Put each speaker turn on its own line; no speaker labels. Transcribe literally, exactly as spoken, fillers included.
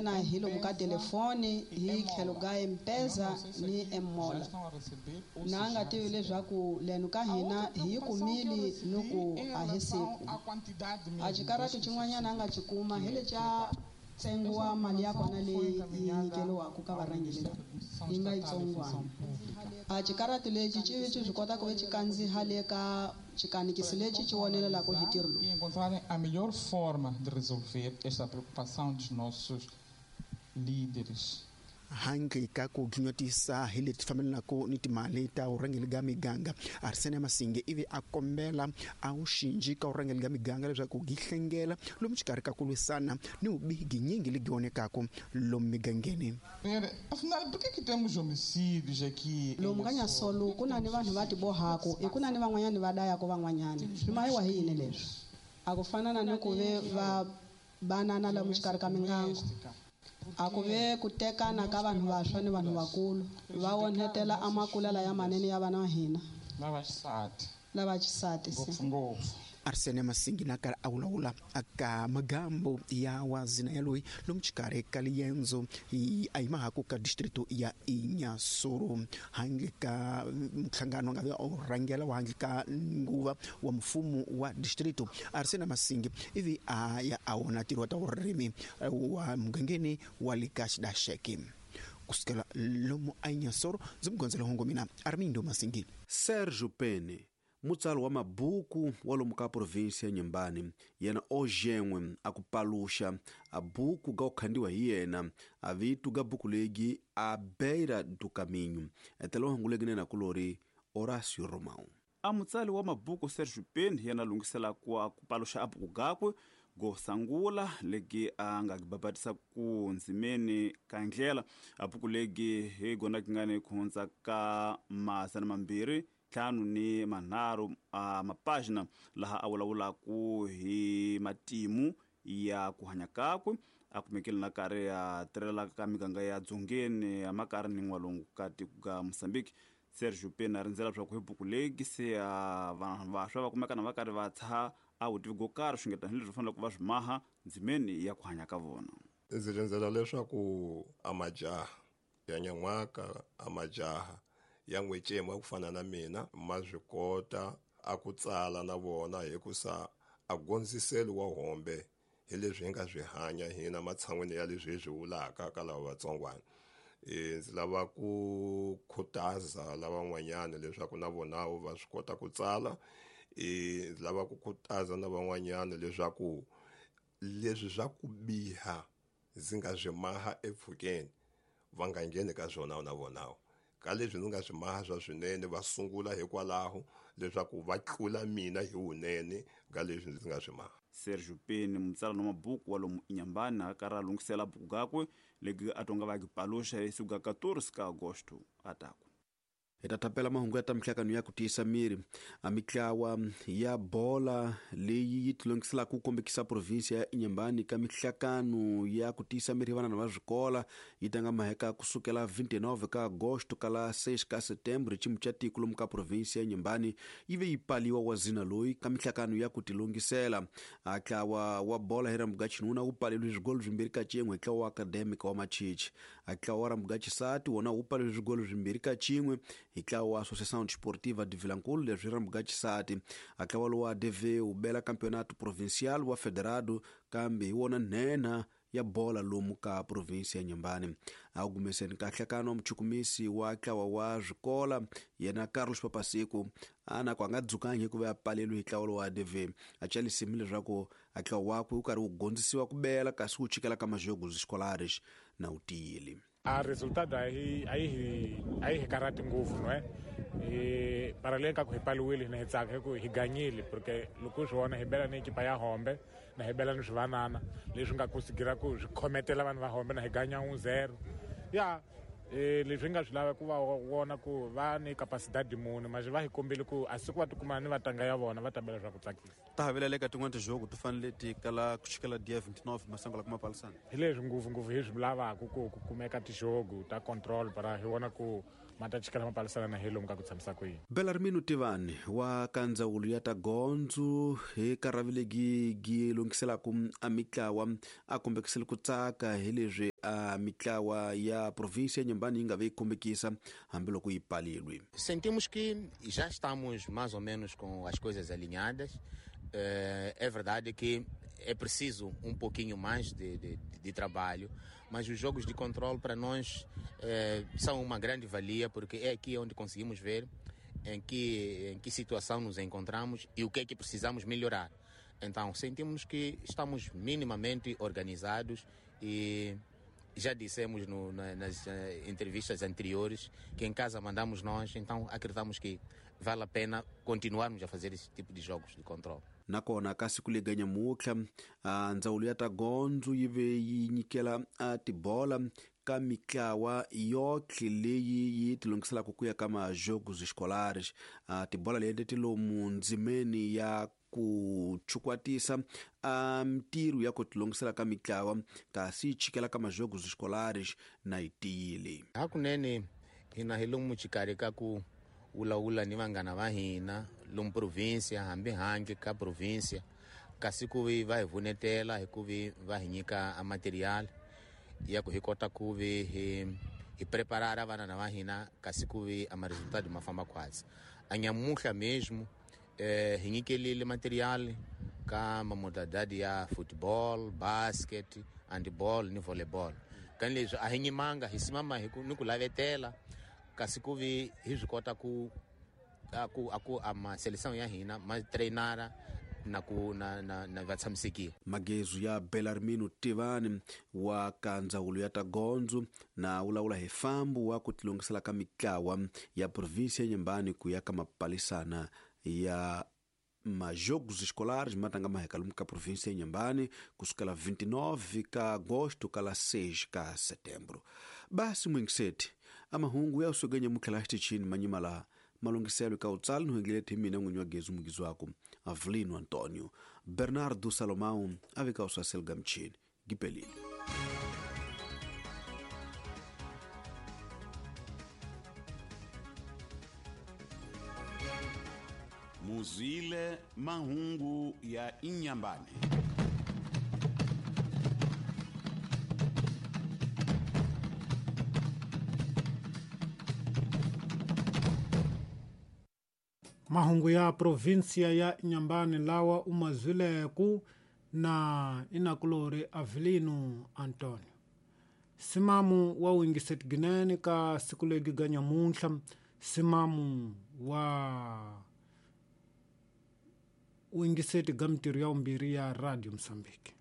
Na hi lomu ka telefoni hi tlhelo ka M-Pesa ni M-Mola. Na a nga tivi leswaku leno ka hina hi yi kumile ni ku a hi siku. A xikarati xin'wanyana a nga xi kuma hi lexa ntsengo wa mali ya kona leyi yi nyikeriwaka ka varhangeri yi nga yitsongwana. A xikarati lexi xi xi swi kota ku ve xi kandziha le ka xikanikisi lexi xi vonelelaka hi ntirho lowu.
E encontrarem a melhor forma de resolver esta preocupação dos nossos líderes.
Handle ka ku dlunyotisa hi leti fambelanaka ni timali ta vurhangeri bya miganga, Arsene Masinge ivi a kombela a wu xinji ka vurhangeri bya miganga leswaku gi hlengela lomu xikarhi ka ku lwisana ni vubihi ginyingi legi vonekaka lomu migangeni.
Afinal, por que que temos homicídios aqui?
Lomu ka Nyasolo ku na ni vanhu va tibohaka, i ku na ni van'wanyani va dayaka van'wanyani. Swi mayiwa hi yini leswi? A ku fana na ni ku ve va banana lomu xikarhi ka mingango. A ku ve ku tekana ka vanhu vantshwa ni vanhu vakulu va onhetela amakulela ya manene ya vana va hina
lava xisati
lava xisati
ngopfungopfu.
Arsene Masingi na karhi a vulavula aka magambo ya wazina ya loyi lomu xikarhi ka liendzo a yimahaku ka distrito ya Inhassoro handle ka nhlangano nga ve u rhangela wa handle ka nguva wa mfumo wa distrito. Arsene Masingi ivi a ya a wona ntirho wa ta vurimi wa mugangeni wa le ka Xidaxeke. Kusukela lomu a Inhassoro ndzi mugondzela hongo mina Armindo Masingi.
Sergio Pene, mutsari wa mabuku wa lomu ka provinsi ya Nyembani, yena o gen'we a ku paluxa a buku ga ku khandiwa hi yena a vitu ga buku legi a beira do caminho. Etela hungu legi nena kulori Horácio Romão.
A mutsari wa mabuku Sergio Pene yena lungisela ku ku paluxa a buku gakwe go sangula legi a nga gibabatisa ku ndzimeni ka ndlela. A buku legi hi gona kingani ku hundza ka masana mambirhi ntlhanu ni manharhu a mapagina laha a vulavulaku hi matimu ya ku hanya kakwe a kumekile na karhi ya tirhelaka ka miganga ya dzongeni ya makari ni n'walungu ka tiko ka Mozambique. Sergio Pene a rindzela leswaku hi buku legi se a vanhu vantshwa va kumeka na va karhi va tshaha a vutivi go karhi swi nge tanihileswi va faneleke va swi maha ndzimeni ya ku hanya ka vona.
Ndzi rindzela leswaku a majaha ya nyan'waka a majaha ya n'wecema ku fana na mina ma swi kota a ku tsala na vona hikusa a gondziselo wa hombe hi leswi hi nga swi hanya hina matshan'wini ya leswi hi swi vulaka ka lava vatsongwana. E ndzi lava ku khutaza lavan'wanyana leswaku na vona va swi kota ku tsala. E ndzi lava ku khutaza na van'wanyana leswaku leswi swa ku biha ndzi nga swi maha epfhukeni va nga ngheni ka swona na vona. Ka leswi ndzi nga swi maha swa swinene va sungula hikwalaho leswaku va tlula mina hi wunene ka leswi ndzi nga swi maha.
Sergio Pene, mutsari wa mabuku wa lomu Inhambane, a karhi a lunghisela buku gakwe legi a tonga va gipaluxa hi siku ga quatorze ka agosto a taku.
Hi ta tapela mahungu ya ta mihlakano ya ku tiyisa miri. A mitlawa ya bola leyi yi tilongiselaka ku kombekisa provinsi ya Inhambane ka mihlakano ya ku tiyisa miri vanana va swikola yi tanga maheka kusukela vinte e nove ka agosto kala seis ka setembro. Ximu xa tiko lomu ka provinsi ya Inhambane yi ve yi paliwa wa zina loyi ka mihlakano ya ku tilongisela. A ntlawa wa bola hi rambuga xinuna wu paleliwe swigolo swimbirhi ka cin'we hi ntlawa wa academic wa Machichi. A ntlawa wa rambuga xisati wona wu paleliwe swigolo swimbirhi ka cin'we hi ntlawa wa Associação Desportiva de Vilankulo leswi rambuga xisati. A ntlawa lowu wa D V wu bela campeonato provincial wa federado kambe hi wona nhenha ya bola lomu ka provinsi ya Inhambane. A wu gumeseni ka nhlakano muchukumisi wa ntlawa wa swikola yena Carlos Papasiku a na ku a nga dzukangi hikuva ya paleliwe hi ntlawa lowa D V. A calisimi leswaku a ntlawa wakwe wu karhi wu gondzisiwa ku bela kasi wu chikela ka majogos escolares na wu tiyile.
A resultado a yi a yi a yi hi karhati ngopfu no e para le ka ku hi paliwile na hi tsaka hi ku hi ganyile porque loko swi vona hi bela ni ekipa ya hombe na hi bela ni swivanana leswi nga kusigira ku swi khometela vanhu va hombe na hi ganya un zero ya e leswi nga swi lava ku va vona ku va ni capacidade muni mas va hi kombile ku a siku va tikuma ni vatanga ya vona va tabela swa ku tsakisa.
Ta havelela eka tin'wana tijogo ti fanele ti kala ku chikela dia vinte e nove masango la kuma palisana.
Hi leswi ngopfungopfu hi swi lavaka ku ku kumeka tijogo ta control para hi vona ku ma ta chikela mapalisana na hi lomu ka ku tshamisa ku yini.
Belarmino Tivani wa ka ndzawulo ya ta gondzo hi karhavilegi gi lunghiselaka a mitlawa a kombekisile ku tsaka hi leswi a mitlawa ya província ya Inhambane yi nga ve yi kombekisa hambiloko yi palilwe.
Sentimos que já estamos mais ou menos com as coisas alinhadas. É verdade que é preciso um pouquinho mais de, de, de trabalho, mas os jogos de controle para nós eh, são uma grande valia, porque é aqui onde conseguimos ver em que, em que situação nos encontramos e o que é que precisamos melhorar. Então, sentimos que estamos minimamente organizados e já dissemos no, na, nas entrevistas anteriores que em casa mandamos nós, então acreditamos que vale a pena continuarmos a fazer esse tipo de jogos de controle.
Nakona ka siku lega nyamutlha ndzawulo ya ta gondzo yi ve yi nyikela tibola ka mitlawa yotlhe leyi yi tilungiselaka ku ya ka majogos escolares. Tibola leti ti lomu ndzimeni ya ku chukwatisa a mintirho ya ku tilungisela ka mitlawa kasi yi chikela ka majogos escolares na yi tiyile.
Hakunene hina hi lomu xikarhi ka ku vulavula ni vanghana va hina lomu provinsia hambi handle ka provinsia, kasi ku vi va hi vunetela hi ku vi va hi nyika a material ya ku hi kota ku vi hi hi preparara vana va hina, kasi ku vi a ma-resultado ma famba khwatsi. A nyamuhla mesmo eh, hi nyikelile material ka mamodalidade ya football, basket, handball ni volleyball. Kani leswi a hi nyimanga hi simama hi ku ni ku lavetela, kasi ku vi hi swi kota ku a ku a ku a ma seleção ya hina ma treinara na ku na na na va tshamisekile.
Magezu ya Belarmino Tivani wa ka ndzawulo ya ta gondzo na vulavula hi fambu wa ku tilungisela ka mitlawa ya província ya Inhambane ku ya ka mapalisana ya majogos escolares ma tanga maheka lomu ka província ya Inhambane kusukela vinte e nove ka agosto kala seis ka setembro. Basi mwingiseti amahungu ya usogenya mutlhela xitichini manyima laha malungiselo ka utsali no hengele mina n'winyi wa gezu mugizi wako Avelino Antonio Bernardo Salomão a veka usasel gamchini gipelile.
Muzile mahungu ya Inhambane.
Mahungu ya provinsia ya Inhambane lawa umazwileku na inakulori Avelino Antonio. Simamu wa wingiset ginene ka siku legi ga nyamuntlha, simamu wa wingiseti ga mintirho ya vumbirhi ya Radio Mozambique.